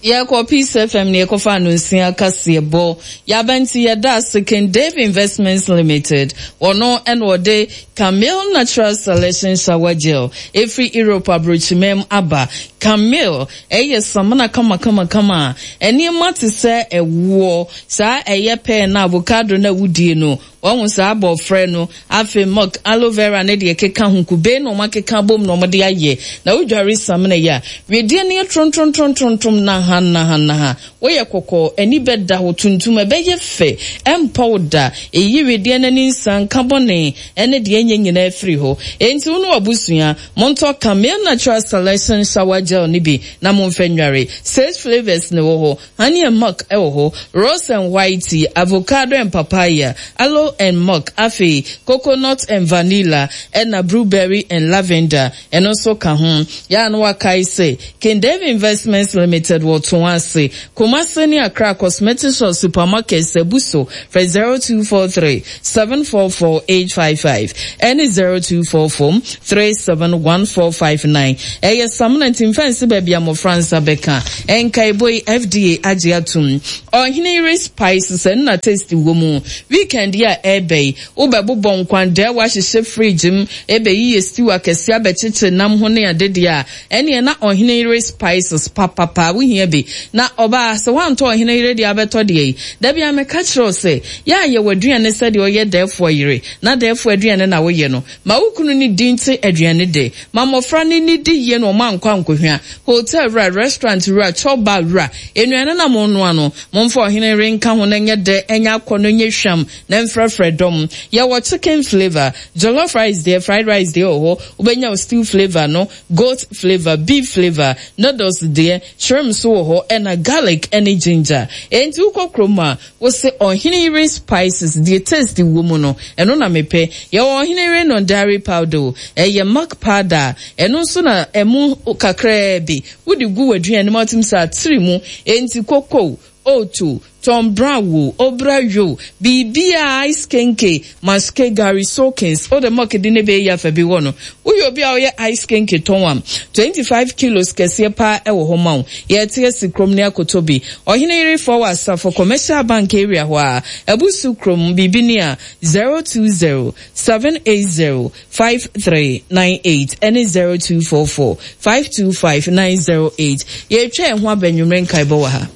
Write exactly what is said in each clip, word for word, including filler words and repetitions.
Yɛkɔ Peace F M ne yɛkɔfa no nsia kaseɛbɔ. Yɛaba nti yɛda ase. King Dave Investments Limited, ɔno ɛna ɔde Camille Natural Selection Shower Gel ɛfiri Europe aburokyimam aba. Camille ɛyɛ samina kamakamakama a ɛnneɛma te sɛ ɛwoɔ saa, ɛyɛ pɛɛ na avocado na wodie no, wɔn saa abɔfrɛ no, afei milk, aloe vera ne deɛ ɛkeka ho, kube na wɔn akeka bom na wɔde ayɛ. Na wodware samina yi a, wedeɛ no yɛ trontrontrontrontrom naha naha naha, woyɛ kɔkɔɔ, ani bɛda hɔ tuntum, ɛbɛyɛ fɛ, ɛmpa wo da. Eyi wedeɛ n'ani nsa nka bɔne ɛne deɛ ɛnyɛ nyinaa firi hɔ. Enti wo ne wabusua montɔ Camille Natural Selection Shower Gel ne bi na momfɛ nware. Six flavours ne wɔ hɔ: honey and milk ɛwɔ hɔ, rose and white tea, avocado and papaya, aloe and milk, afei coconut and vanilla, ɛna blueberry and lavender, ɛno nso ka ho. Yɛa no wakae sɛ King Dave Investments Limited wɔ to ase Kumase ne Accra cosmetic shop, supermarket sɛbu so. Frɛ zero two four three seven four four eight five five ɛne zero two four four three seven one four five nine. Ɛyɛ samina nti mfɛnse baabi a mmɔfra nsa bɛka. Ɛnkaebɔ yi, F D A agye atom. Ɔhene Yere Spices ɛnna taste wɔ mu. Weekend yi a ɛɛbɛ yi, wobɛbobɔ nkwandɛ, wahyehyɛ fridge mu, ɛbɛyi yɛ stew akɛseɛ, abɛkyekyere nam ho ne adedeɛ a ɛneɛ na Ɔhene Yere Spices papapa wohia bi. Na ɔbaa sɛ woantɔ Ɔhene Yere deɛ, abɛtɔ deɛ yi dabi a meka kyerɛ wo sɛ yɛ a yɛwɔ aduane sɛdeɛ ɔyɛ dɛɛfoɔ yere na dɛɛfoɔ aduane na woyɛ no ma wo kunu ne di nte aduane de ma mmɔfra ne ne di yie na ɔma ankɔ ankɔhwia hotel wura, restaurant wura, chop bar wura. Nnuane na mo noa no, momfa Ɔhene Yere nka ho na nyɛ dɛ, ɛnyɛ akɔ no, nyɛ hwam na mfrɛfrɛ dɔm. Yɛwɔ chicken flavour, jollof rice deɛ, fried rice deɛ wɔ hɔ. Wobɛnya wo stew flavour no, goat flavour, beef flavour, noodles deɛ, shrimp nso wɔ hɔ, ɛna garlic ɛne ginger. Enti wokɔ kurom a, wose Ɔhene Yere Spices deɛ taste wɔ mu no, ɛno na mepɛ. Yɛwɔ Ɔhene Yere non dairy powder o, ɛyɛ milk powder, ɛno nso na ɛmu kakraa bi wode gu w'aduane mu atum sɛ atiri mu. Enti koko, oat, Tom Brown wo, obra yo, biribiara, ice kenke, maske, gari soakings, o de milk de ne bɛyɛ afa bi wɔ no. Woyɛ obi a ɔyɛ ice kenke tɔn am, twenty-five kilos kɛseɛ paa ɛwɔ hɔ ma wo. Yɛte asi kurom ne akoto bi. Ɔhene Yerefoɔ wɔ Asafo Commercial Bank area hɔ a, Abusu kurom biribi ni a, zero two zero seven eight zero five three nine eight ɛne zero two four four five two five nine zero eight. Yɛtwa ɛho abɛnwumere nkaebɔ wɔ ha.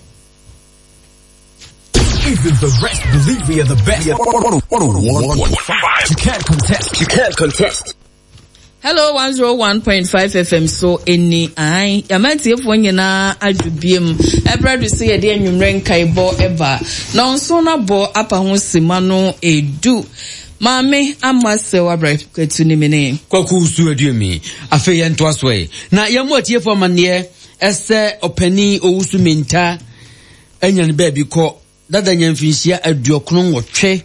Even the rest believe we are the best. one oh one point five. You can't contest. You can't contest. Hello one oh one point five F M so ɛni ae yɛamantiefo nyinaa adwo biem. Ɛberɛ do sɛ yɛde anwummerɛ nkaebɔ ɛba na ɔnso no abɔ apa ho sima no edu. Maame Ama sɛ wabrɛ ne mene. Kwaku su aduami. Afei yɛntoa so ɛ na yɛmmɔ atiefo amanneɛ ɛsɛ ɔpanin Owusu Menta anya ne baabi kɔ dada, nya mfinhyia aduɔkono nwɔtwe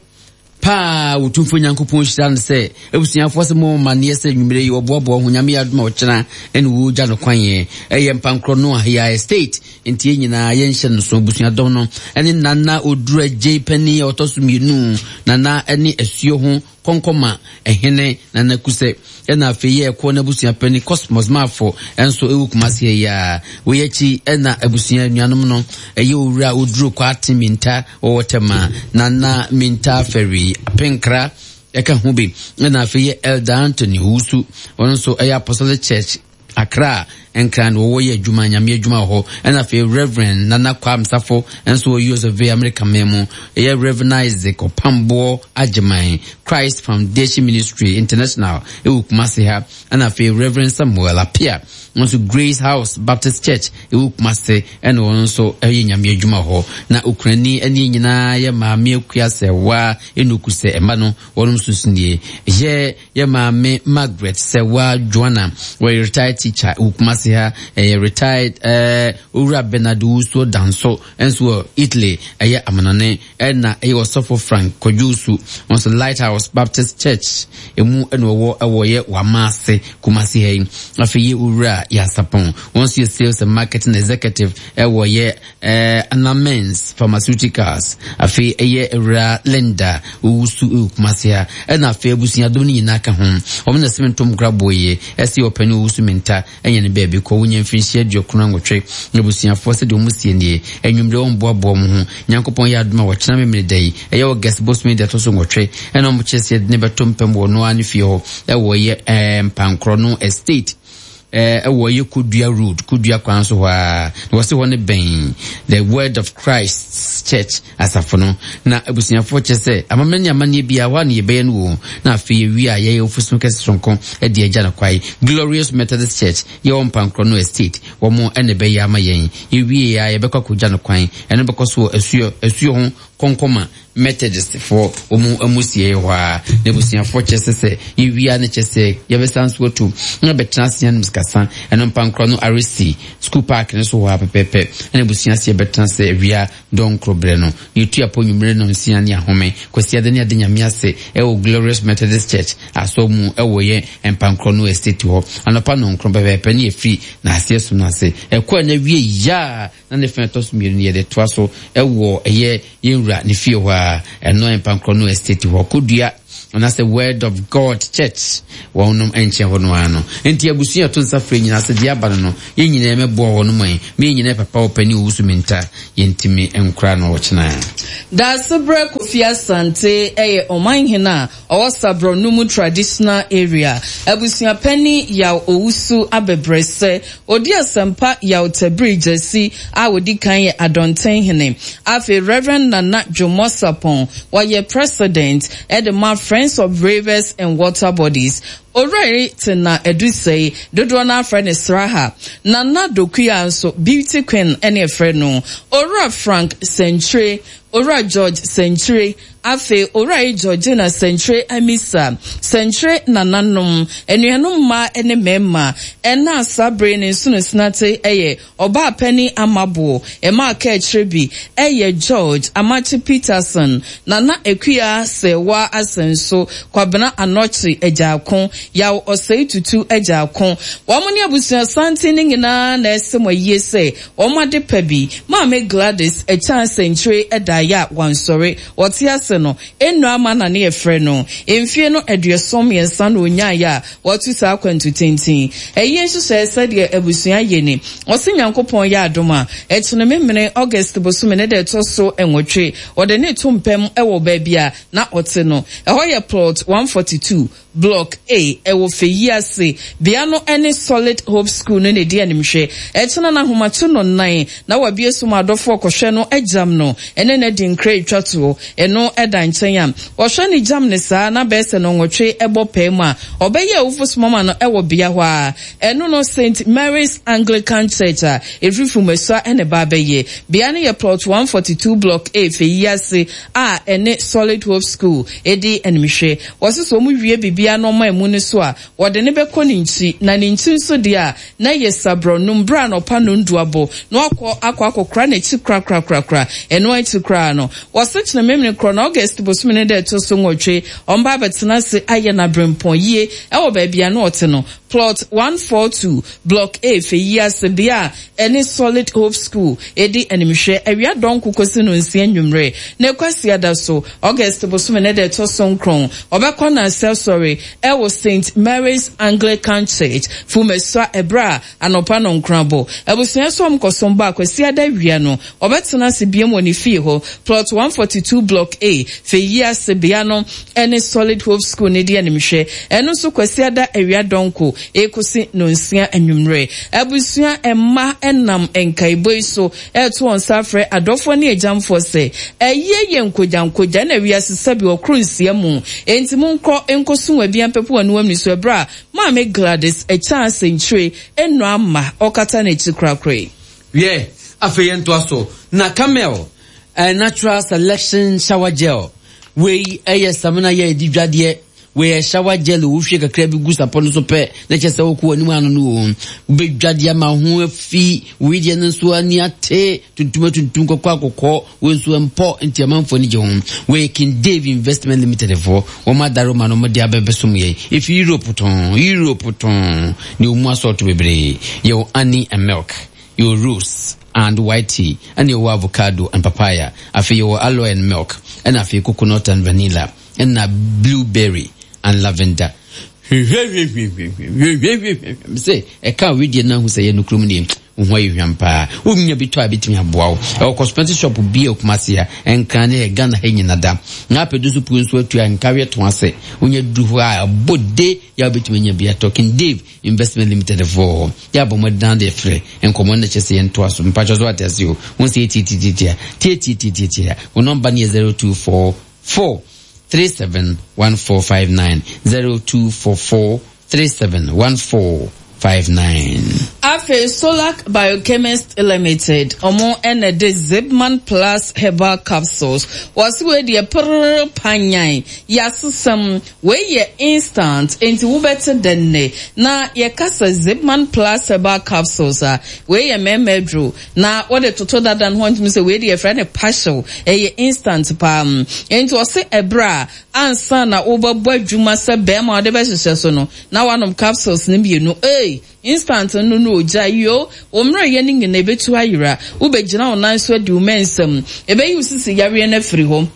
paa. Wɔtumfo Nyankopɔn hyira no sɛ abusuafoɔ sɛ mo amanneɛ sɛ nwummerɛ yi wɔboaboa ho, Nyame yɛ adom a ɔkyena ɛne wɔgya no kwan. Ɛyɛ Mpankorɔ no Ahia Estate, nti yɛn nyinaa yɛnhyɛ no so. Abusuadɔm no ɛne Nana Oduru Agye panin a ɔtɔ so mmienu, Nana ɛne asuo ho kɔnkɔma ɛhene Nana Kusɛ, ɛna afei yɛ ɛkɔ n'abusua panin Cosmos Maafo ɛnso ɛwɔ Kumase yi a wɔyɛ akyi. Ɛna abusua nuanom no ɛyɛ Owura Oduro Kwate Minta wɔwɔ Tɛma, Nana Minta Fɛri Apenkra ɛka ho bi, ɛna afei yɛ Elder Anthony Owusu, ɔno nso ɛyɛ Apostolic Church Accra Nkran na wɔwɔ yɛ adwuma, Nyame adwuma wɔ hɔ. Ɛna afei Reverend Nana Kwam Safo nso wɔ U S of A, America man mu. Ɛyɛ Reverend Isaac Ɔpamboɔ Agyeman, Christ Foundation Ministry International ɛwɔ Kumase ha. Ɛna afei Reverend Samuel Apia nso, Grace House Baptist Church ɛwɔ Kumase, ɛna wɔn nso ɛyɛ Nyame adwuma hɔ. Na okurani ɛne nyinaa yɛ Maame Akua Sɛwa Enuku sɛ ɛma no wɔn nso so nie. Yɛ yɛ Maame Margaret Sɛwa Joanna, wɔyɛ retired teacher wɔ Kumase ha. Ɛyɛ retired ɛɛ Owura Bernard Wusuo Danso nso wɔ Italy, ɛyɛ amanɔne. Ɛna ɛyɛ Ɔsɔfo Frank Kwadwosu nso, Lighthouse Baptist Church emu ɛna ɔwɔ, ɛwɔ yɛ Wamaase, Kumase ha yi. Afei yɛ Owura Yasapon. Wɔn nso yɛ sales and marketing executive ɛwɔ yɛ ɛɛ Anamens Pharmaceuticals. Afei ɛyɛ Ewura Linda Owusu ɛwɔ Kumasi ha. Ɛna afei abusuadom no nyinaa ka ho. Wɔn na sɛm ntom kora boye ɛsi ɔpanin Owusu Minta ɛnyɛ ne baabi kɔ wonya mfirinhyia aduokron nwɔtwe. Abusuafoɔ sɛdeɛ wɔn sie nie, anwummerɛ wɔn boaboa wɔn ho. Nyankopɔn yɛ adom a wɔkyena memene da yi, ɛyɛ August bosome da ɛtɔ so nwɔtwe, ɛna wɔn kyerɛ sɛ yɛde ne bɛto mpam wɔ noa ne fie hɔ ɛwɔ yɛ ɛɛ Mpankorɔ no Estate, ɛɛ ɛwɔ yɛ Kodua Road, Kodua kwan so hɔ a. Na wɔsi hɔ ne bɛn The Word of Christ Church asafo no. Na abusuafoɔ kyerɛ sɛ amammerɛ ne amanneɛ biara hɔ a ne yɛbɛyɛ no wɔ. Na afei yɛwie a yɛyɛ ofusun kɛse sonko ɛde agya no kwae. Glorious Methodist Church yɛwɔ Mpankorɔ no Estate, wɔn ɛna ɛbɛyɛ ama yɛn. Yɛwie a yɛbɛkɔ akɔgya no kwan. Ɛno bɛkɔ so wɔ asuo asuo ho Kɔnkɔma Methodist foɔ wɔn amusie hɔ a. Na abusuafoɔ kyerɛ sɛ sɛ yɛwie a ne kyerɛ sɛ yɛbɛsan so atu na bɛtena ase anom sikasa. Ɛno Mpankorɔ no R C School Park no so hɔ a pɛpɛɛpɛ. Ɛna abusua ase yɛbɛtena ase awia dɔnkoro berɛ no. Yɛtu apɔ nwummerɛ no nsia ne ahome. Kwasiada ne ade Nyame ase ɛwɔ Glorious Methodist Church asɔ mu ɛwɔ yɛ Mpankorɔ no Estate hɔ. Anɔpa nɔnkron pɛpɛɛpɛ ne yɛfiri na aseɛ som no ase. Ɛkɔ a na wie yaa na ne fɛn ɛtɔ so mmienu no yɛde toa so ɛwɔ ɛyɛ yɛn wura ne fie hɔ a ɛno Mpankorɔ no Estate hɔ, Kodua anaasɛ Word of God Church wɔnom nkyɛn hɔ no ara no. Nti abusua ɛto nsa frɛ nyinaa sɛ deɛ aba no no yɛn nyinaa mɛboa wɔ no mu yi me nyinaa papa ɔpanin Owusu Minta yɛntumi nkora no ɔkyena. Daasebrɛ Kofi Asante ɛyɛ ɔmanhene a ɔwɔ Sabrɔnum Traditional Area. Abusuapɛni Yaw Owusu Abɛbrɛsɛ odi asɛmpa Yaw Tabiri Gyasi a odi kan yɛ Adɔntenhene. Afei Reverend Nana Dwomo Sapɔn wɔyɛ president ɛde ma Friends of Rivers and Water Bodies. Owura Tena Edusei dodoɔ no afrɛ ne Sraha. Nana Dokuya nso Beauty Queen ɛne ɛfrɛ no. Owura Frank Sɛnkyire, Owura George Sɛnkyire, afei Owura yi Georgina Sɛnkyire Amisa Sɛnkyire, nananom, anuanom mmaa ne mmarima. Ɛna saa bere ne nsonosinate ɛyɛ ɔbaa panin Amaboɔ ɛma aka akyire bi ɛyɛ George Amakye Peterson, Nana Akua Sɛwa Asɛnso, Kwabena Anɔkye Agyaako, Yaw Ɔsɛe Tutu Agyaako. Wɔn ne abusua santen ne nyinaa na ɛsɛ mo ayie sɛ wɔn ade pa bi Maame Gladys Ɛkyan Sɛnkyire ɛdaeɛ a wansɔre. Wɔte ase no enu ama na ne yɛfrɛ no mfie no aduɔson mmiɛnsa na onyaeɛ a wɔatu saa akwantu tenten. Ɛyie nhyehyɛe sɛdeɛ abusua yɛ ni: ɔse Nyankopɔn yɛ adom a, ɛkyene memene August bosome ne da ɛtɔ so nwɔtwe, wɔde ne to mpam ɛwɔ baabi a na ɔte no. Ɛhɔ yɛ Plot one forty-two, Block A, ɛwɔ Fɛyi ase. Bea no ne Solid Hope School no na ɛdi animhwɛ. Ɛkyena no ahomakye no nan na wabie so ma adɔfoɔ kɔhwɛ no agyam no ɛne no adi nkra etwa toɔ. Ɛno ɛda nkyɛn a wɔhwɛ ne gyam ne saa na bɛyɛ sɛ no nwɔtwe ɛbɔ pɛɛ mu a, ɔbɛyɛ awufo somama no ɛwɔ bea hɔ a ɛno no Saint Mary's Anglican Church a ɛfiri Fumasua ɛne ba abɛyɛ. Bea no yɛ Plot one forty-two, Block A, Fɛyi ase a ɛne Solid Hope School ɛdi animhwɛ. Wɔsi sɛ wɔn wie biribiara na ɔma emu no so a, wɔde ne bɛkɔ ne nkyi, na ne nkyi nso deɛ a na yɛ sabrɔnum bere a n'ɔpa no ndu abɔ na wakɔ akɔ akɔkora n'akyi korakorakorakora. Ɛno akyi koraa no, wɔsi kyerɛ memene korɔ na August bosome ne dɛ ɛto so nwɔtwe, ɔmba abɛtena ase ayɛ n'abrɛmpɔn yie ɛwɔ baabi a na ɔte no, Plot one forty-two, Block A, Fɛyi ase, bea a ɛne Solid Hope School ɛdi animhwɛ, awia dɔnko kɔsi no nsia nnwummerɛ. Na Kwasiada so, August bosome ne dɛ ɛtɔ so nkron, ɔbɛkɔ n'asɛ sɔre ɛwɔ Saint Mary's Anglican Church, Fumasua, ɛberɛ a anɔpa no nkrabɔ. Abusua so ɔmkɔsom ba Kwasiada awia no, ɔbɛtena ase biem wɔ ne fie hɔ, Plot one forty-two, Block A, Fɛyi ase, bea no ɛne Solid Hope School ne di animhwɛ. Ɛno nso Kwasiada awia dɔnko ekosi no nsia anwummerɛ. Abusua mma ɛnam nkaebɔ yi so ɛto wɔn nsa afrɛ adɔfoɔ ne agyamfoɔ sɛ ɛyɛ yɛ nkogyankogya na wiase sɛbi ɔkoro nsia mu, enti monkɔ nkɔsom abia mpɛpo wɔn anim so ɛberɛ a Maame Gladys Ɛkyan Asɛnkyire ɛnu ama ɔkata n'akyi korakora yi. Wiɛ, afei yɛntoa so na Camel uh, Natural Selection Shower Gel wei ɛyɛ samina yɛ edi dwadeɛ. Wei shower gel wohwie kakra bi gu sapɔ no so pɛ na kyerɛ sɛ wokɔ w'anim ano no o. Wobɛdwa de ama ho afi wei deɛ no nso ani ate tuntum atuntum kɔkɔ akɔkɔ wei nso mpɔ nti amanfoɔ ani gye ho. Wei King Dave Investment Limited foɔ wɔn adaro ma no wɔde abɛbɛsom yɛn ɛfi Europe tɔn Europe tɔn ne wɔn mu asɔɔto bebree. Yɛwɔ honey and milk, yɛwɔ rose and white tea, ɛna yɛwɔ avocado and papaya, afei yɛwɔ aloe and milk, ɛna afei coconut and vanilla, ɛna blueberry and lavender. Hwehwehwehwehwehwehwehwehwehwɛ sɛ ɛka wedeɛ no ahu sɛ yɛ nokurom nie wo ho ayɛ hwam paa wonya bi tɔ a bɛtumi aboa wo. Ɛwɔ cosmetic shop bi a Kumase a ɛnkra ne Ghana ha nyina da na apɛdu so puo nso atua nkaweɛ to ase wonya duru hɔ a ɛbɔ de yɛ wobɛtumi anya bi atɔ. King Dave Investment Limited foɔ yɛ abɔ mmɔden de frɛ nkɔmmɔ no kyɛ sɛ yɛntoa so mpakyɛ so ate ase o wo sɛ yɛtietietietia tietietietia wo nɔmba no yɛ zero two four four three seven one four five nine zero two four four three seven one four five nine. Afei Solac Biochemist Limited ɔmo ɛna de Zipman Plus Herbal Capsules wɔsi wei deɛ prrr panyan yasesɛm wei yɛ instant nti wobɛte dɛnne na yɛkasa Zipman Plus Herbal Capsules a wei yɛ mɛɛmɛ aduro na wɔde toto dada no ho ntumi sɛ wei deɛ yɛfrɛ no partial ɛyɛ instant paa nti ɔse ɛbrɛ a ansa na wobɛbɔ adwuma sɛ bɛrima wɔde bɛhyehyɛ so no na wanom capsules no mmienu ee instant no no ogya yo ommerɛ yɛ ne nyina ebetu ayera wobɛgyina wo nan so adi wo mɛnsɛm ɛbɛyi wo sisi yareɛ no afiri hɔ.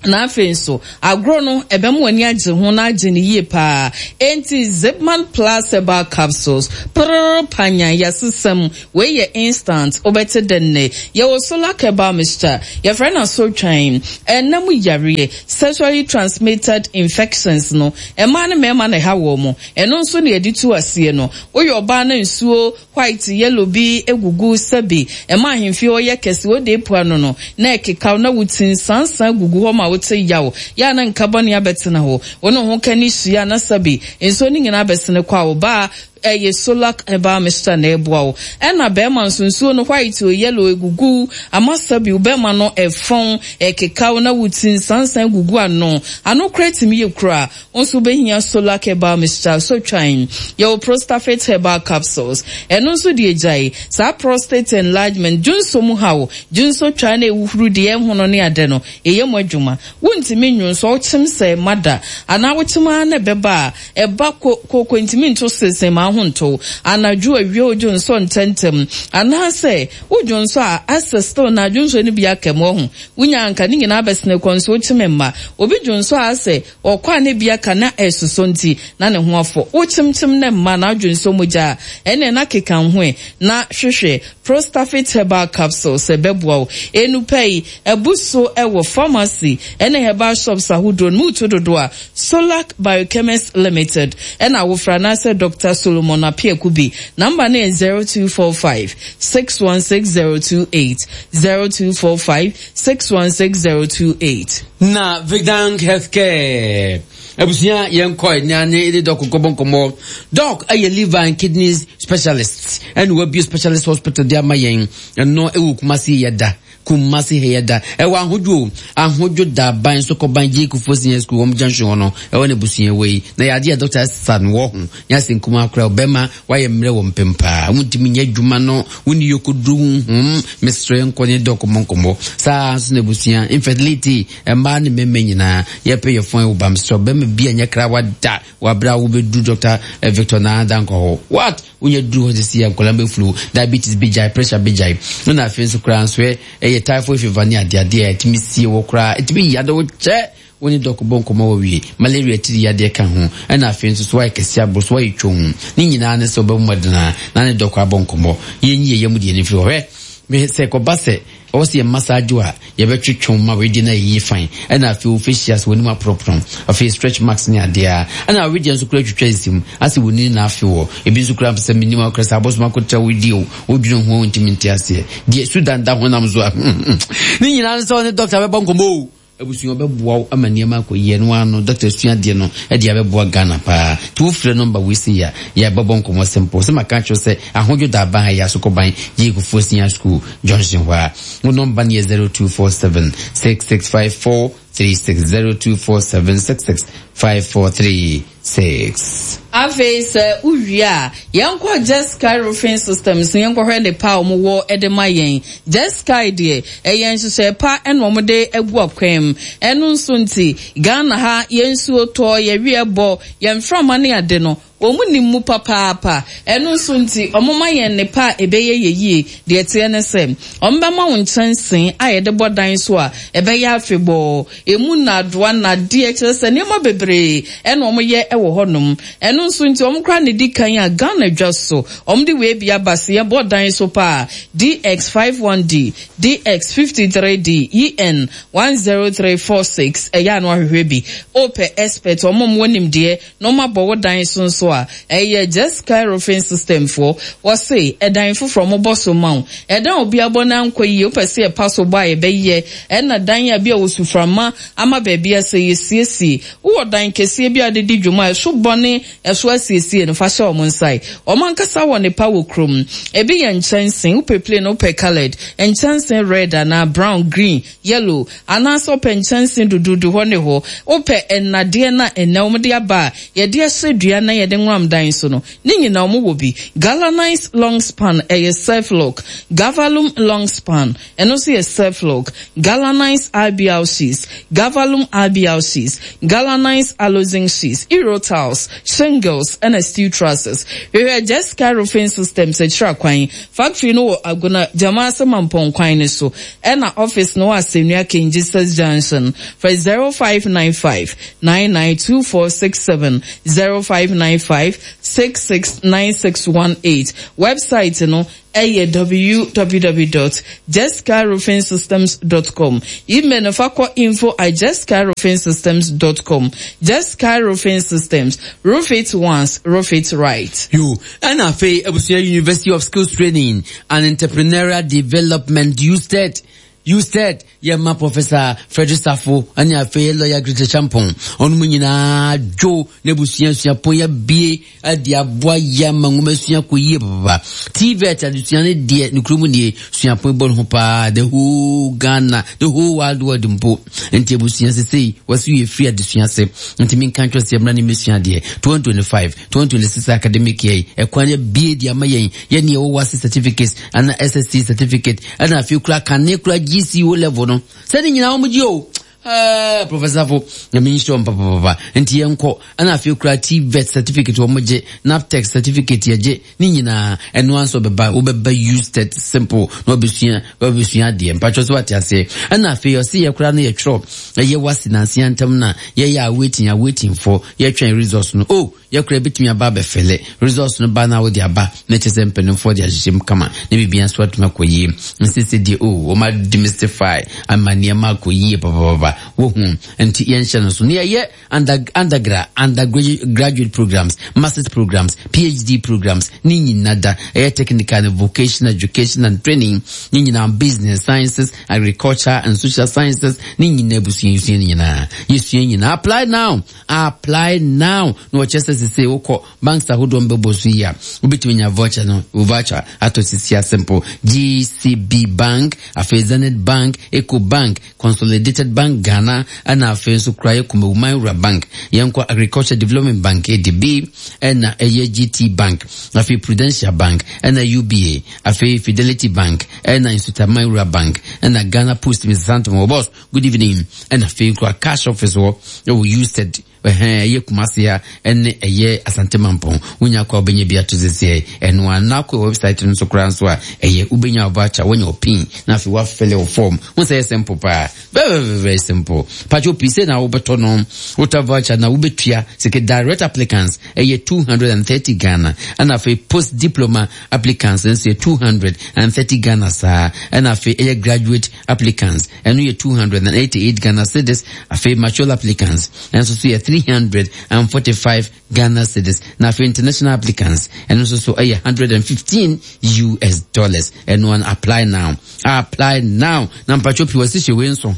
Na afei nso agorɔ no ɛbɛma w'ani agye ho na agye ne yie paa. Enti Zipman Plus Herbal Capsules prrr panyan yɛsesɛm wei yɛ instant wobɛte dɛnne. Yɛwɔ Solar Herbal Mixture yɛfrɛ no asotwan ɛnam yareɛ sexually transmitted infections no ɛmaa ne mmarima na ɛha wɔ mo ɛno nso na yɛde tu aseɛ no woyɛ ɔbaa no nsuo white yellow bi egugu sɛbi ɛma ahemfie hɔ yɛ kɛse wode epua no no na ɛkekaw na wuti nsansan gugu hɔ ma wote yaw ya na nka bɔne abɛtena hɔ wo ne ho ka ne hyia na sɛbi nsuo no nyinaa bɛsene kɔ a ɔbaa ɛyɛ Solar Herbal Mixture na ɛboa wo. Ɛna bɛrima nso nsuo no white o yellow egugu ama sɛbi bɛrima no ɛfɔn ɛkekaw na wuti nsansan gugu ano ano kora tumi yɛ kura nso bɛhia Solar Herbal Mixture so twan. Yɛwɔ Prostafit Herbal Capsules ɛno nso deɛ gyae saa prostate enlargement dwonso mu haw dwonso twa na ewuhuru deɛ ɛhono ne ade no ɛyɛ mu adwuma wontumi nwonso wokyem sɛ mada anaa wokyem ara na ɛbɛba a ɛba koko ntumi nto sese ma ho nto anadwo awie wodwonso ntɛntɛm anaasɛ wodwonso a asɛ still na adwonso no bi aka mu ɔho wonya anka ne nyinaa bɛsene kɔ nso wokyem mma obi dwonso a asɛ ɔkɔ a ne bi aka na ɛsoso nti na ne ho afɔ wokyemkyem ne mma na adwonso mogya a ɛne na keka ho na hwehwɛ Prostafit Herbal Capsules ɛbɛboa wo enupa yi ɛbu so ɛwɔ pharmacy ɛne herbal shops ahodoɔ no mu to dodo a Solac Biochemist Limited ɛna awofra anaasɛ Doctor Solomon Apiaku number no yɛ zero two four five six one six zero two eight zero two four five six one six zero two eight. Na Vidank Healthcare abusua yɛn kɔ ne ne de dɔk nkɔbɔ nkɔmmɔ. Dɔk ɛyɛ liver and kidneys specialist ɛna wabue specialist hospital de ama yɛn ɛno ɛwɔ Kumasi yɛ da Kumasi ha yɛ da ɛwɔ ahodwo ahodwo da ban so kɔban gye kufuo senior school wɔn junction hɔ no ɛwɔ ne busua wɔ yi na yɛade yɛ dɔkta sa no wɔ ho nyɛ nkuma akora ɔbɛma wayɛ mmerɛ wɔ mpem paa wontumi nyɛ adwuma no wonni yɔkɔduru honhom mesrɛ nkɔ ne dɔk mmɔ nkɔmmɔ saa nso na abusua infertility mmaa ne mmarima nyinaa yɛpɛ yɛ fɔn wɔ bam sɛ ɔbɛma bi a nyɛ krawa da wabra wobɛduru Doctor Victor na dankɔ hɔ what wonya duru hɔ sisi yɛ nkɔla bɛfulu diabetes bi gyae pressure bi gyae na afei nso koraa nso ɛyɛ typhoid fever ne adeadeɛ a ɛtumi sie wɔ koraa ɛtumi yade wo kyɛ wo ne dɔk bɔ nkɔmmɔ wɔ wie malaria tiri yadeɛ ka ho ɛna afei nso so wayɛ kɛse aboro so wayɛ twom ne nyinaa ne sɛ wobɛbɔ mmɔdena na ne dɔk abɔ nkɔmmɔ yɛnyi yɛ yam deɛ no firi hɔ hwɛ sɛ kɔba sɛ ɔwɔ sɛ yɛma saa adwo a yɛbɛtwetwe ma wedeɛ no ayɛyie fan ɛna afei wo facials w'anim aporoporo afei stretch marks ne adeɛ a ɛna wedeɛ nso kora twitwa nsim asɛ w'ani na afe wɔ ebi nso kora sɛ menim akora sɛ abɔsom akɔtra wodie o wodwene ho ntimi nte aseɛ deɛ sudan da honam so a ne nyinaa ne sɛ ɔne dɔkta bɛbɔ nkɔmmɔ o Abusua ɔbɛboa wo ama nneɛma akɔ yie no ano. Doctor sua adeɛ no ɛde abɛboa Ghana paa. Nti wofrɛ number wei sei a, yɛbɛbɔ nkɔmmɔ simple. Sɛ maka kyerɛ sɛ ahodwo da aban ha yɛ Asokɔban Gye Kufuor Senior School Junction hɔ a. Wo number no yɛ zero two four seven six six five four three six zero two four seven six six five four three six. Afei sɛ wowie a, yɛnkɔ Just Sky Roofing Systems na yɛnkɔhwɛ nnepa a wɔwɔ de ma yɛn. Just Sky deɛ, ɛyɛ nhyehyɛe pa na wɔde agu akwan mu. Ɛno nso nti, Ghana ha, yɛn nsuo tɔ, yɛn wia bɔ, yɛn mframa ne ade no, wɔn nim mu papaapa. Ɛno nso nti, wɔma yɛn nnepa a ɛbɛyɛ yɛ yie. Deɛ ɛteɛ ne sɛ, wɔbɛma wo nkyɛnsee a yɛde bɔ dan so a ɛbɛyɛ afebɔɔ. Emu nnadoa, nnadeɛ, kyerɛ sɛ nneɛma bebree ɛna wɔyɛ wɔ hɔnom. Ɛno nso nti, wɔn koraa na ɛdi kan a Ghana dwa so. Wɔn de wei bi aba se yɛbɔ dan so paa. D X five one D, D X fifty three D, E N one zero three four six. Ɛyɛ ano ahwehwɛ bi. Opɛ expert, wɔn a wɔn nimdeɛ na wɔn abɔ wɔ dan so nso a, ɛyɛ Just Sky Roofing System foɔ. Wɔse, ɛdan foforɔ wɔn bɔ so ma wo. Ɛdan obi abɔ na nkɔ yie, wopɛ sɛ yɛpa so bɔ a yɛbɛyɛ. Ɛna dan a bi a wɔsuframa ama baabi a sɛ yɛsiesie. Wowɔ dan kɛseɛ bi a de di dwuma a ɛso bɔne, ɛso asiesie no, fa hyɛ wɔn nsa. Wɔn ankasa wɔ ne pa wɔ kurom. Ebi yɛ nkyɛnsee, wopɛ plain, wopɛ colored. Nkyɛnsee red anaa brown, green, yellow. Anaasɛ wopɛ nkyɛnsee dududu hɔ ne hɔ. Wopɛ nnadeɛ na ɛnɛ wɔn de aba a yɛde ahyɛ dua na yɛde nwam dan so no. Ne nyinaa wɔn wɔ bi. Galvanized long span ɛyɛ self lock. Galvalum long span ɛno nso yɛ self lock. Galvanized I B L sheets, Galvalum I B L sheets, Galvanized aluzinc sheets, Euro tiles, shingles ɛna steel trusses. Hwehwɛ Just Sky Roofing Systems akyiri akwan. Factory no wɔ Agona Jamase Mampong kwan ne so. Ɛna office no wɔ Asennua King Jesus Junction. For zero five nine five nine nine two four six seven, zero five nine five six six nine six one eight. Website no ɛyɛ w w w dot just sky roofing systems dot com. Email no fa kɔ info at just sky roofing systems dot com. Just Sky Roofing Systems, roof it once, roof it right. Yo, ɛna afei abusua University of Skills Training and Entrepreneurial Development, USTED. USTED, yɛma Professor Frederick Safo ɛne afei lawyer Greta Champon. Ɔno mu nyinaa dwo na abusua suapɔn yɛabie ade aboa yɛ ama nwoma sua kɔ yie papa. T V E T adesua ne deɛ ne kurom nie suapɔn bɔ ne ho paa, the whole Ghana, the whole world world mpo. Nti abusua sesei wɔsi yɛ free adesua se. Nti minka nkyerɛ sɛ yɛmmra ne mmesua adeɛ. twenty twenty-five, twenty twenty-six academic year yi, ɛkwan yɛ bie de ama yɛn. Yɛn ne yɛwɔ WASSCE certificates ana S S C certificate ɛna afei kura kane kura G C O level no. Sɛ ne nyinaa wɔn gye o. Eh, Professor Fo, na me nhyira papa papa. Nti yɛnkɔ ɛna afei kura T V E T certificate wɔn gye, NABTEB certificate yɛgye ne nyinaa. Ɛno anso bɛba, wobɛba USTED simple na wabɛsua, wabɛsua adeɛ. Mpatwɔ so wate aseɛ. Ɛna afei ɔse yɛ kura no yɛtwerɛ ɛyɛ WASSCE nansia ntam na yɛyɛ a waiting, a waiting for yɛtwɛn results no. Oh, yɛkura bitumi aba abɛfɛlɛ results no ba na wode aba na kyerɛ sɛ mpanimfoɔ de ahyehyɛ mu kama na biribi nso atumi akɔ yie. Nsese deɛ, oh, wɔn demystify ama nneɛma akɔ yie papapapa. Wohu nti yɛnhyɛ no so. Ne yɛyɛ under, undergrad, undergraduate programs, masters programs, P H D programs, ne nyinaa da. Ɛyɛ technical and vocational education and training, ne nyinaa business sciences, agriculture and social sciences, ne nyinaa abusua yɛsua ne nyinaa. Yɛsua nyinaa. Apply now. Apply now. No wɔkyerɛ sɛ sese wokɔ banks ahodoɔ mbɛbɔ so yi a, wobɛtumi anya voucher no, voucher atɔ sisi a simple. G C B Bank, afei Zenith Bank, Eco Bank, Consolidated Bank Ghana, ɛna afei nso kura yɛ Kumawu Rural Bank, yɛnkɔ Agriculture Development Bank, A D B, ɛna ɛyɛ G T Bank, afei Prudential Bank, ɛna U B A, afei Fidelity Bank, ɛna Nsutaman Rural Bank, ɛna Ghana Post, Mister Santom, wɔ boss, good evening, ɛna afei kura cash office wɔ, ɛwɔ USTED, ɛhɛn, ɛyɛ Kumasi ha, ɛne ɛyɛ Asante Mampong. Wonya akɔ a wobɛnya bi ato sɛsɛ, ɛno a, na akɔ website no so koraa nso a, ɛyɛ wobɛnya voucher, wonya wo pin, na afei woafɛle wo form. Wo sɛ ɛyɛ simple paa. Very, very, very simple. Patro pii sɛ na wobɛtɔ no, wotɔ voucher na wobɛtua sɛ direct applicants ɛyɛ two hundred and thirty Ghana, ɛna afei post diploma applicants nso yɛ two hundred and thirty Ghana saa, ɛna afei ɛyɛ graduate applicants ɛno yɛ two hundred and eighty-eight Ghana cedis, afei mature applicants ɛnso so yɛ three hundred and forty-five Ghana cedis, na afei international applicants ɛno nso so ɛyɛ hundred and fifteen U S dollars. Ɛno an apply now, apply now. Na mpatwo pii wɔsi hyɛ wei nso.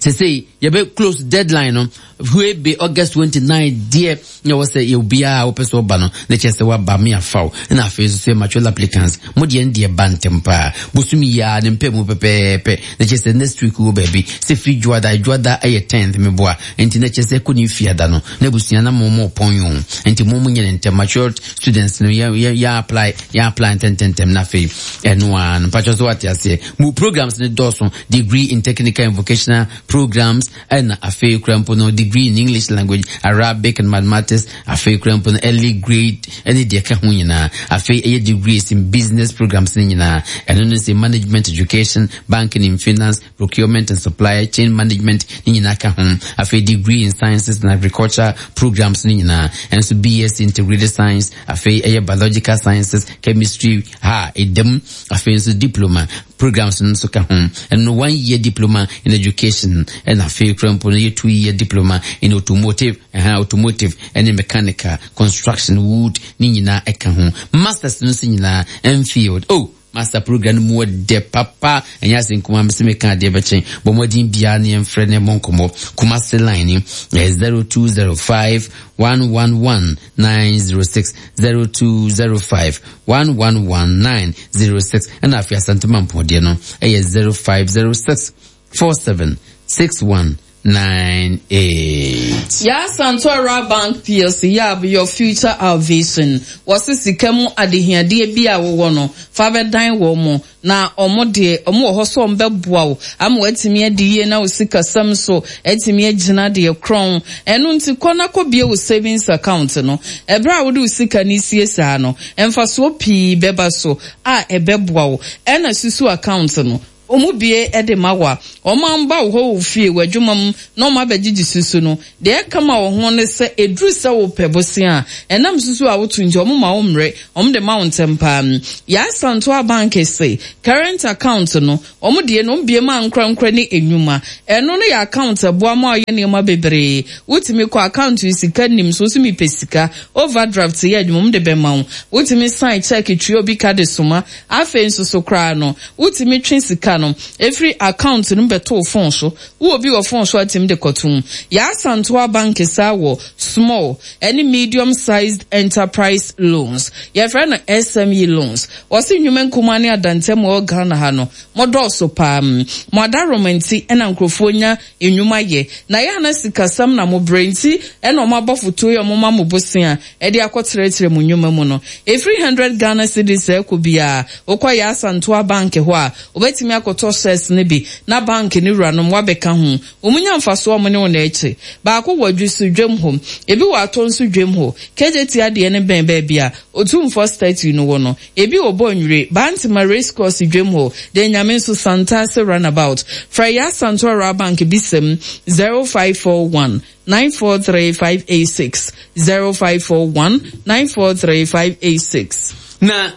Sesei yɛbɛ close deadline no hwe be August twenty-nine deɛ na wɔ sɛ yɛ obiara a wopɛ sɛ ɔba no na kyerɛ sɛ waba me afaw na afei nso sɛ mature applicants mo deɛ no deɛ ba ntɛm paa bosom yi a ne mpɛ mu pɛpɛɛpɛ na kyerɛ sɛ next week wɔ baabi sɛ firi dwoada dwoada ɛyɛ tenth meboa nti na kyerɛ sɛ kɔ ne fiada no na abusua na mo mo pɔn yo nti mo mo nyɛ ne ntɛm mature students no yɛ yɛ yɛ apply yɛ apply ntɛntɛntɛm na afei ɛno a no mpatwɛ so wate aseɛ mo programs ne dɔɔso degree in technical and vocational programs ɛna afei kura mpo no degree in English language, Arabic and mathematics, afei kura mpo no early grade ɛne deɛ ka ho nyinaa afei ɛyɛ degrees in business programs ne nyinaa ɛno no sɛ management education, banking and finance, procurement and supply chain management ne nyinaa ka ho afei degree in sciences and agriculture programs ne nyinaa ɛnso B S integrated science afei ɛyɛ biological sciences, chemistry ha ɛdam afei nso diploma programs no nso ka ho ɛno one year diploma in education ɛna afei kura mpo no yɛ two year diploma in automotive ɛha automotive ɛne mechanical construction wood ne nyinaa ɛka ho masters no nso nyinaa Enfield oh master program mu de papa enya se nkuma me se me ka de beche bo modin bia ne emfrɛ ne bonkomo Kumasi line ni zero two zero five one one one nine zero six zero two zero five one one one nine zero six and afia Asante Mampɔn no eh zero five zero six four seven six one nine eight. Ya Santora Bank P L C, ya your future our vision. Wasi sika mu adehiade bi a wo no fa bedan wo mo na omo de omo wo ho so mbeboa wo am watimi adi na wo sika sam so etimi agina de kron eno nti kɔ na kɔ bie wo savings account no ebra wo de wo sika ni sie saa no emfaso pii beba so a ebeboa wo ena susu account no omu bie ede mawa o ma mba wo ho fie wadwuma na o ma begigi susu no de kama wo ho ne se eduru se wo pebosi a enam susu a wotu nti omu ma wo mre omu de ma wo ntempa ya Santoa Bank se current account no omu de no bie ma nkra nkra ne enwuma eno no ya account eboa ma ye ne ma bebre wotimi kɔ account sika nim so so mi pesika overdraft ye adwuma de be ma wo wotimi sign check tue obi ka de soma afa nso so kra no wotimi twe sika no every account no beto phone so wo obi wo phone so atim de kɔtum ya Santoa Bank sa wo small any medium sized enterprise loans ya friend no S M E loans wose nwuma nkuma ne adantem wo Ghana ha no modɔso pam modaro menti ena nkrofo nya enwuma ye na ya na sikasam na mo brenti ena o mabofoto ye mo mamobosia e de akɔtrɛtrɛ mu nwuma mu no every hundred Ghana cedis e ko bia okɔ ya Santoa Bank ho a obetimi akɔtɔ shares ne bi na bank ne wura no wabɛka ho omunya mfaso omo ne wo na eche baako wadwu dwem ho ebi wa ato nso dwem ho K J T ade ne ben ba bia otumfo statue no wo no ebi obo nwire Bantima race course dwem ho de nyame nso Santase runabout Freya Santoa Bank bisem zero five four one nine four three five eight six zero five four one nine four three five eight six. Na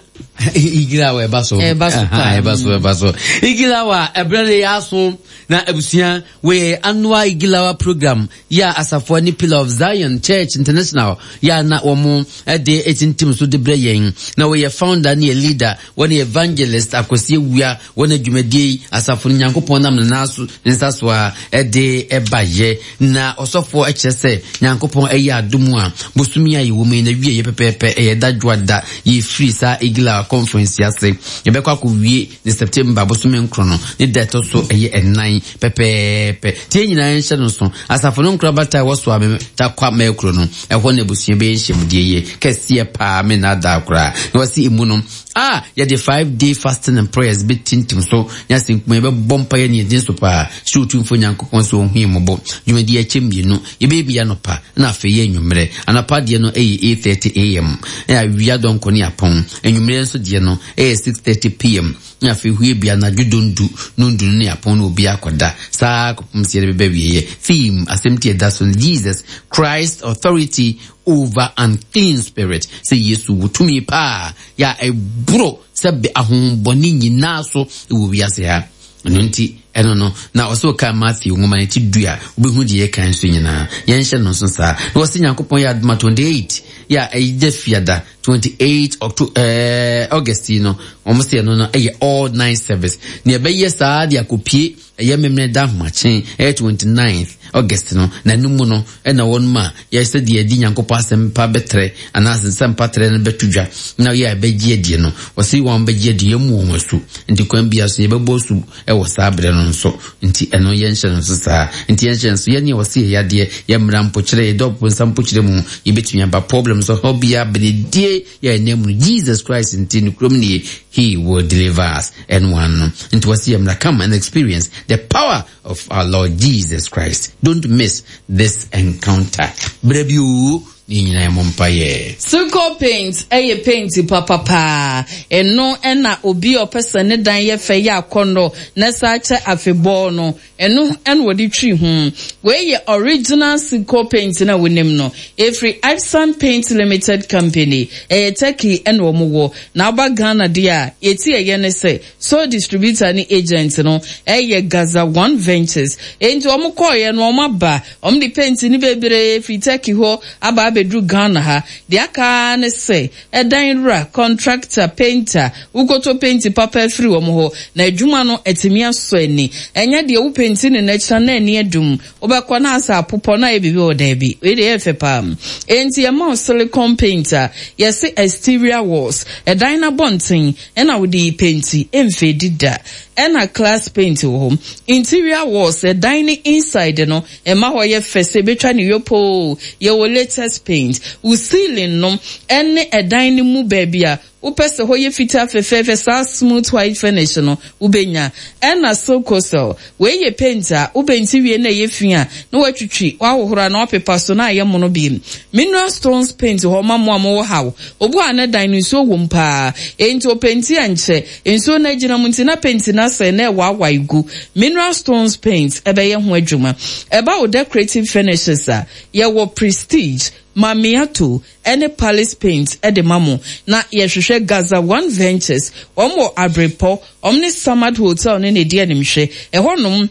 Igilawa ebaso ebaso ebaso ebaso Igilawa ebrele yaso na ebusia we annual Igilawa program ya asafo ni Pillar of Zion Church International ya na omo de etintim so de breyen na we founder ni leader woni evangelist Akwasi Awuah woni dwumadie asafo Nyankopon nam na so nsaso a de ebaye na osofo e kyerɛ Nyankopon eyi adomu a bosumi ayi wo me na wie ye pepepe e dadwoada ye free sa Igilawa conference yase yebekwa akɔwie ne September bosumi nkrono ne da so eye enan pepepe tie nyina nhye no so asafo no nkra bata wo so ame ta kwa makro no ehɔ na abusua be nhyemdie ye kɛseɛ paa me na da kora na wasi emu no ah ye de five day fasting and prayers be tintim so nya sinkuma be bompa ye ne din so paa hye otumfo Nyankopɔn so ohu mmobo dwumadi akyem bienu ye be bia no pa na afei ye nwumre anapa de no eye eight thirty A M na awia donko ne apon enwumre nso de no eye six thirty P M na afei hue bia na dwodondu nundu ne apon na obi akoda saa kopum sie de be wie theme asɛm tie da so Jesus Christ authority over unclean spirit say Yesu wotumi pa ya ebro sɛ be ahombɔne nyinaa so wo wiase ha Ɛno nti ɛno no na ɔsɛ ɔka Matthew nwoma no ti du a, wobɛhu deɛ yɛka nso nyinaa. Yɛnhyɛ no nso saa. Na wɔsɛ Nyankopɔn yɛ adoma twenty-eight yɛ a ɛyɛ Fiada twenty-eight October, eh, August yi no, wɔn sɛ ɛno no ɛyɛ all night service. Na ɛbɛyɛ saa de akɔpie ɛyɛ Memene da ahomakye ɛyɛ twenty-ninth August no. Na ɛno mu no ɛna wɔn mu a yɛsɛ deɛ yɛdi Nyankopɔn asɛmpa bɛtrɛ anaasɛ nsɛmpa trɛ no bɛto dwa na yɛ a ɛbɛgye adie no, wɔsi wɔn bɛgye adie yɛn mu wɔn asu. Nti kwan bia so yɛbɛbɔ asu ɛwɔ saa berɛ no nso. Nti ɛno yɛnhyɛ no nso saa. Nti yɛnhyɛ nso yɛne a wɔsi yɛ yadeɛ, yɛ mmara mpokyerɛ, yɛdɔ nsa mpokyerɛ mu, yɛbɛtumi aba problem so hɔ bia benedie yɛ ɛnɛ mu no Jesus Christ nti ne kurom nie, he will deliver us. Ɛno ano nti wɔsi yɛ mmara, come and experience the power of our Lord Jesus Christ. Don't miss this encounter. Berɛ bi o ne nyinaa yɛ mpaeɛ. Suko Paint ɛyɛ paint papapaa. Ɛno ɛna obi a ɔpɛ sɛ ne dan yɛ fɛ yɛ akɔnnɔ na saa kyɛ afebɔɔ no, ɛno ɛna wɔde twi ho. Wei yɛ original Suko Paint na wonim no. Ɛfiri Epson Paint Limited Company. Ɛyɛ Turkey ɛna wɔn wɔ. Na aba Ghana deɛ a, yɛti ɛyɛ ne sɛ sole distributor ne agent no ɛyɛ Gaza One Ventures. Enti wɔn kɔɔyɛ no, wɔn aba, wɔn de paint ne bebree firi Turkey hɔ aba abɛduru Ghana ha. Deɛ aka ne sɛ ɛdan wura, contractor, painter, wokoto paint papa afiri wɔn hɔ na adwuma no atumi asɔ ani. Ɛnyɛ deɛ wo paint ne n'akyi na ani adum, wobɛkɔ na asa apopɔ na ayɛ biribi wɔ daabi. Wei deɛ ɛyɛ fɛ paa. Enti ɛma wo silicone paint a yɛse exterior walls, ɛdan n'abɔnten ɛna wode paint, ɛmfɛ dida. Ɛna glass paint wɔ hɔ, interior walls, ɛdan ne inside no, ɛma hɔ yɛ fɛ sɛ ebetwa ne yopo. Yɛwɔ latest paint wo ceiling no ɛne ɛdan ne mu baabi a wopɛ sɛ hɔ yɛ fitaa fɛfɛɛfɛ, saa smooth white finish no wobɛnya. Ɛna Silcosel, wei yɛ paint a wobɛnti wie na ɛyɛ fi a, na watwitwi, wahohoro na wapepa so na ayɛ mono bi. Mineral stones paint hɔ ma mo a mowɔ haw obu a ne dan no nsuo wɔ mu paa, enti openti a nkyɛ nsuo no agyina mu nti na paint no asɛe na ɛwaawae gu. Mineral stones paint ɛbɛyɛ ho adwuma. Ɛba wo decorative finishes a, yɛwɔ Prestige, Mamiato ɛne Palace Paint ɛde ma mo. Na yɛhwehwɛ Gaza One Ventures, wɔn wɔ Abrepɔ, wɔn ne Samad Hotel ne ne di animhwɛ ɛhɔnom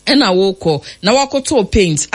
ɛna wokɔ na wakɔtɔ paint.